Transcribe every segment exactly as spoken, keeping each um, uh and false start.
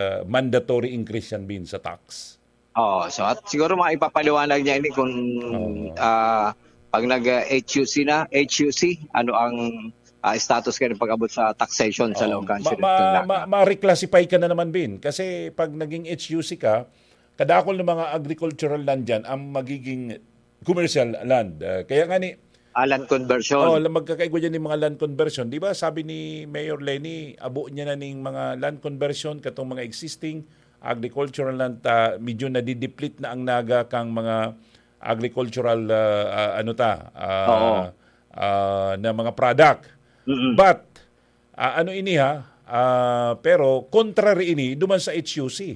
uh, mandatory increase yan, Bin, sa tax. Oh, so at siguro mga ipapaliwanag niya ini kung Oo. ah, pag nag-H U C na, H U C, ano ang ah, status kayo pag-abot sa taxation sa Oo. Laogan, Ma- Sir ma- Tugnaga? ma- ma-reclassify ka na naman, Bin. Kasi pag naging H U C ka, kadakol ng mga agricultural land dyan ang magiging commercial land. Uh, kaya nga ni, Ah, land conversion. Oh, la- magkakaigwa dyan yung mga land conversion. Di ba sabi ni Mayor Leni, abo niya na ning mga land conversion, katong mga existing agricultural land, ta, medyo nadideplete na ang Naga kang mga agricultural, ah, ah, ano ta, ah, Oo. ah, na mga product. Mm-mm. But, ah, ano ini ha, ah, pero contrary ini duman sa H U C.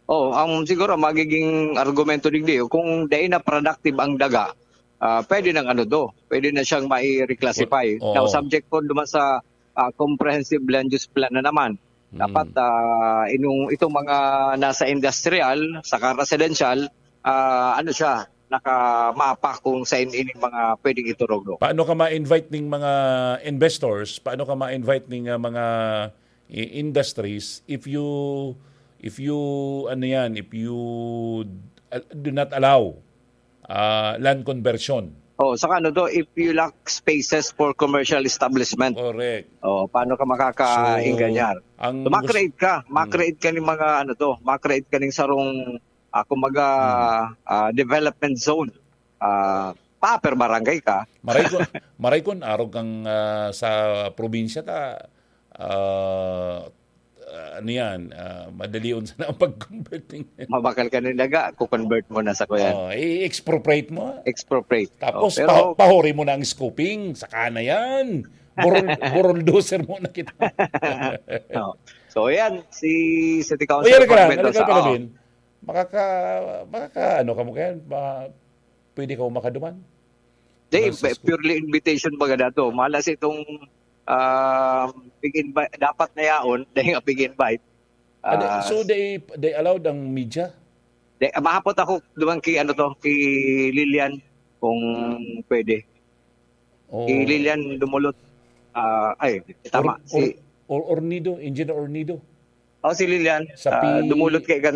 Oh, ang siguro magiging argumento digdi, kung dai na productive ang daga, ah, pwede nang ano do, pwede na siyang mai-reclassify. Oo. Now, subject po naman sa ah, comprehensive land use plan na naman. Dapat ah, inong, itong mga nasa industrial, saka residential, ah, ano siya, nakamapa kung sa ining mga pwedeng iturog. No? Paano ka ma-invite ning mga investors? Paano ka ma-invite ning ah, mga i- industries if you if you ano yan, if you uh, do not allow uh, land conversion? Oh, saka ano to, if you lack spaces for commercial establishment, Correct. Oh, paano ka makakaingganyar? So, ang So, ma-create ka, ma-create ka ng mga ano to, ma-create ka ng sarong ah, kumbaga ah, development zone. Ah, pa per barangay ka. Maray kun maray kun arog kang ah, sa probinsya ta ah, ah, ano yan, ah, madalion sana ang pag-convert ng Mabakal ka ng daga, ku-convert mo na sa kuyan. Oh, i-expropriate mo. Expropriate. Tapos Oh, pero pa- pahuri mo na ang scooping, saka na yan. Burol, buroldoser mo na kita. Oh. So yan, si City O Council yan ka lang, Frank ano Mendoza. ka pala, Oh. Bin? Makaka, makaka, ano ka mo kaya? Ma, pwede ka mo makaduman? Di, Francisco. Purely invitation baga dato. Mala sa itong ah, pig-invite, dapat na yaon, dahil nga pig-invite. Ah, di- Ah, so they they allowed ang media? Di, mahapot ako duman ki ano to, ki Lilian kung pwede. O Ki Lilian Dumulot. Ah, ay, tama. Or- si or- or- Ornido, Engineer Ornido. Oh, si Lilian. Sa Ah, pi- Dumulot kay kan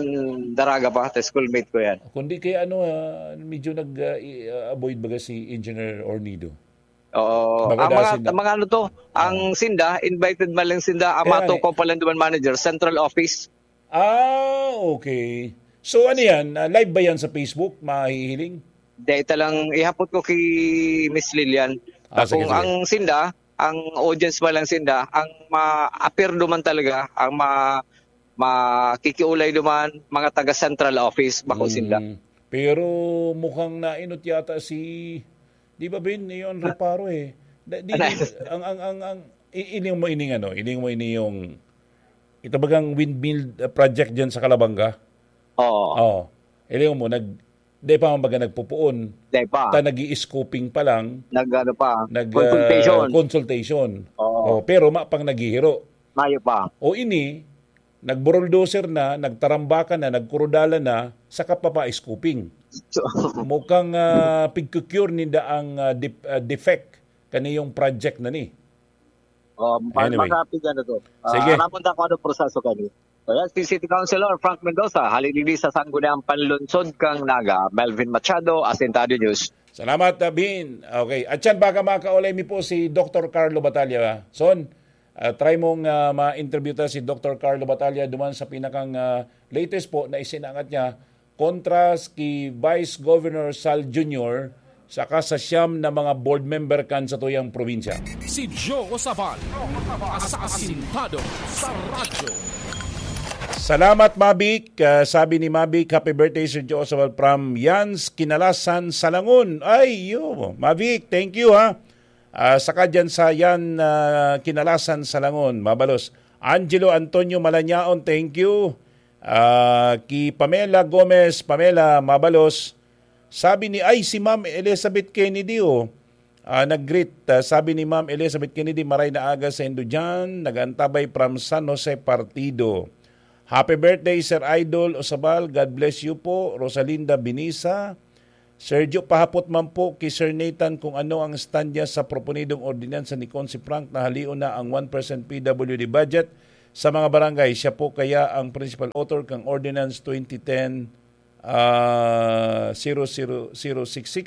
Daraga pa, ta schoolmate ko yan. Kundi kaya ano, ah, medyo nag ah, i- ah, avoid baga si Engineer Ornido. Oo. Baga Ang mga, dasin na- ang mga ano to, ang Sinda, invited man lang Sinda, ang Kaya mga nga tukaw pa lang duman manager, central office. Ah, okay. So ano yan? Ah, live ba yan sa Facebook? Mahihiling? Dahil talang ihapot ko kay Miss Lilian. Ah, sige, Kung sige. Ang Sinda, ang audience pa lang Sinda, ang ma-appear duman talaga, ang ma makikiulay duman, mga taga central office, bako Sinda. Mm. Pero mukhang nainot yata si, di ba, Bin? Yun ang reparo eh. Da- di, di, ang, ang, ang, ang, i- ining mo ining ano, ining mo ini yung, ito bagang windmill uh, project dyan sa Calabanga? Oo. Oo. Iling mo, nag, di pa man baga nagpupuon. Dahil pa, Ta nag-i-scoping pa lang. nag ano pa, Nag, consultation. uh, consultation. Oo. Oh, pero mapang naghihiro. Mayo pa. O ini, nagburuldoser na, nagtarambakan na, nagkurudalan na, saka pa pa-scoping. So, Mukhang uh, pigkukure ninda ang uh, dep- uh, defect kaniyong project na ni. um, pa- Anyway. Makapig ano to. Ah, Sige. Ramon da ako ano proseso kani. So, yan, si City Councilor Frank Mendoza, halin digdi sa Sangguniang Panlunsod kang Naga, Melvin Machado, Asintado News. Salamat, uh, Bin. Okay. At yan, baka makaulay mi po si Doctor Carlo Batalla. Son, uh, try mong uh, ma-interview ta si Doctor Carlo Batalla duman sa pinakang uh, latest po na isinangat niya kontra ki Vice Governor Sal Junior saka sa siyam na mga board member kan sa tuyang probinsya. Si Joe Sabal, asasintado sa radyo. Salamat, Mavic. Ah, sabi ni Mavic, "Happy birthday, Sir Joe Sabal from Yans, Kinalasan, Salangon." Ay, yo, Mavic, thank you, ha. Ah, saka dyan sa Yan, ah, Kinalasan, Salangon, mabalos. Angelo Antonio Malanyaon, thank you. Ah, ki Pamela Gomez, Pamela, mabalos. Sabi ni, ay, si Ma'am Elizabeth Kennedy, oh. Ah, nag-greet. Ah, sabi ni Ma'am Elizabeth Kennedy, "Maray na aga sa indo dyan. Nag-antabay from San Jose Partido." Happy birthday, Sir Idol Osabal. God bless you po. Rosalinda Binisa. Sergio, pahapot man po ki Sir Nathan kung ano ang stand niya sa proponidong ordinansa ni Consi Frank na halion na ang one percent P W D budget sa mga barangay. Siya po kaya ang principal author kang Ordinance twenty ten, ah, zero zero zero six six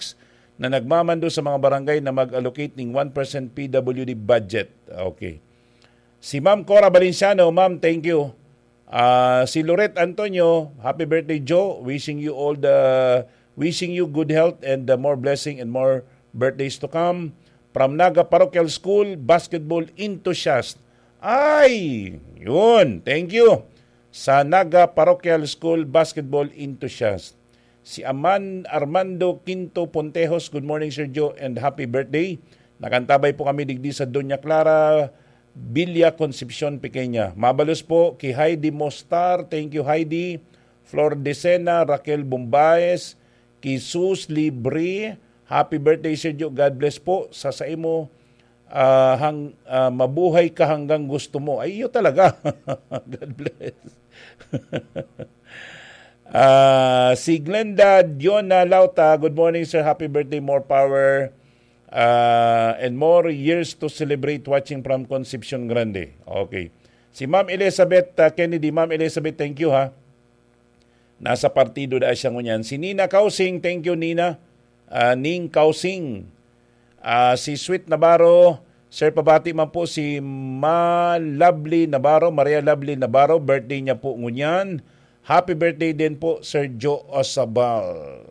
na nagmamando sa mga barangay na mag-allocate ning one percent P W D budget. Okay. Si Ma'am Cora Valenciano, ma'am, thank you. Ah, si Loret Antonio, happy birthday, Joe. Wishing you all the, wishing you good health and the more blessing and more birthdays to come. From Naga Parochial School, basketball enthusiast. Ay, yun. Thank you. Sa Naga Parochial School, basketball enthusiast. Si Aman Armando Quinto Pontejos, good morning, Sir Joe, and happy birthday. Nakantabay po kami digdi sa Doña Clara, Villa Concepcion, Pequeña. Mabalos po ki Heidi Mostar. Thank you, Heidi. Flor Decena, Raquel Bombaes, ki Sus Libre. Happy birthday, Sir Joe. God bless po sa saimo. Ah, hang, ah, mabuhay ka hanggang gusto mo. Ay, iyo talaga. God bless. Ah, si Glenda Diona Lauta, good morning, sir. Happy birthday, more power, ah, and more years to celebrate, watching from Concepcion Grande. Okay. Si Ma'am Elizabeth, ah, Kennedy. Ma'am Elizabeth, thank you, ha. Nasa partido da siya ngunyan. Si Nina Kausing, thank you, Nina. Ah, Ning Kausing. Ah, si Sweet Navarro, sir, pabati man po si Ma Lovely Navarro, Maria Lovely Navarro, birthday niya po ngunyan. Happy birthday din po, Sir Joe Osabal.